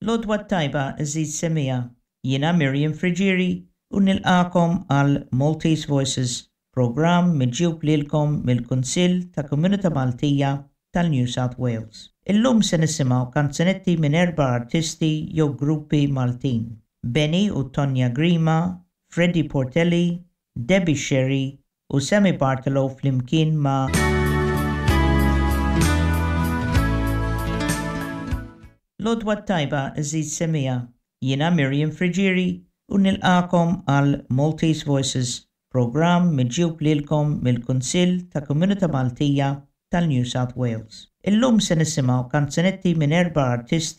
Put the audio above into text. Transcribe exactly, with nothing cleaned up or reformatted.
L-għodwa t-tajba, għeżież semmiegħa. Jiena Miriam Friggieri u nilqagħkom għal Maltese Voices, programm miġjub lilkom mill-Kunsill ta' Komunità Maltija tal-New South Wales. Illum se nisimgħu kanzunetti minn erba' artisti jew gruppi Maltin. Benny u Tonja Grima, Freddie Portelli, Debbie Scerri u Sammy Bartolo flimkien ma' L-għodwa t-tajba, għeżież semmiegħa. Jiena Miriam Friggieri u nilqagħkom għal Maltese Voices, programm miġjub lilkom mill-Kunsill ta' Komunità Maltija tal-New South Wales. Illum se nisimgħu kanzunetti minn erba' artisti